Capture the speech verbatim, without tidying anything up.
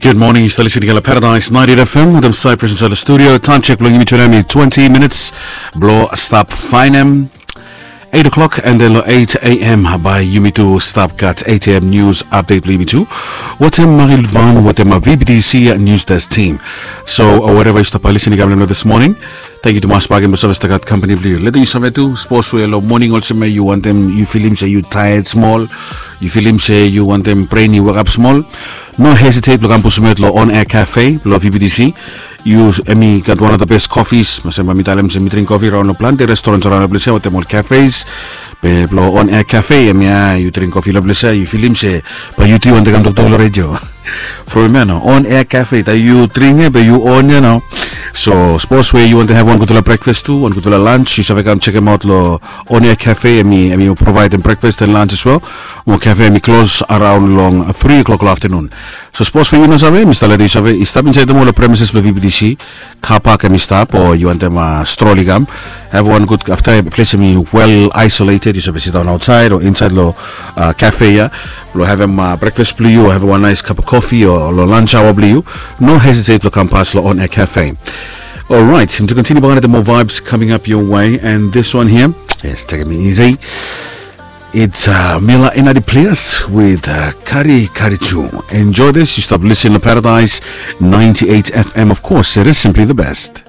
Gud moning, yu stap lisin i gat long Paradise ninety-eight F M wetem Cyprus insait long studio. Taem sek blong yumi tu nao em i twenty minits blong stap faenem eight o'clock, and then long eight a.m. bae yumi tu stap gat eight a.m. nius apdet blong yumi tu wetem Marie Lutvan wetem V B T C News Desk team. So wherever yu stap lisin i gat long this morning, tangkiu tumas bakegen blong save stap gat kampani blong yu. Letem yu save tu, sapos we long moning olsem ya yu wantem, yu filim se yu taet smol, yu filim se yu wantem bren i wekap smol, no hesitate blong kam pusim aot long On Air Cafe blong V B T C. Yu, em i gat one of the best coffees. Olsem bae mi talem se mi dring kofi raon long plante restaurants raon long ples ya wetem ol cafes. Be blong On Air Cafe, em ya yu dring kofi long ples ya, yu filim se bae yu tu yu wantem kam toktok long redio. From ya nao, On Air Cafe, taem yu dring ya be yu on ya nao. So sapos we yu wantem have wan gudfala breakfast tu, wan gudfala lunch, yu save kam sekemaot long On Air Cafe. Em i, em i provaedem breakfast and lunch as well. Mo cafe em i klos araon long three o'clock long afternoon. So sapos we yu no save, mi stap letem yu save i stap insait long ol premises blong V B T C. Car park em i stap, o yu wantem stroll i kam. Have wan gud, afta ples em i well isolated, yu save sidaon aotsaed o insait long cafe ya blong havem breakfast blong yu o havem wan nice cup of coffee o long lunch hour blong yu. No hesitate blong kam pas long On Air Cafe. Alright, yumi tu continue bakegen, more vibes coming up your way, and this one here, yes, taking me easy. It's uh, Mila Enadi Plias with uh, Kari Kari Tu. Enjoy this. Yu stap lisin long Paradise ninety-eight F M. Of course, it is simply the best.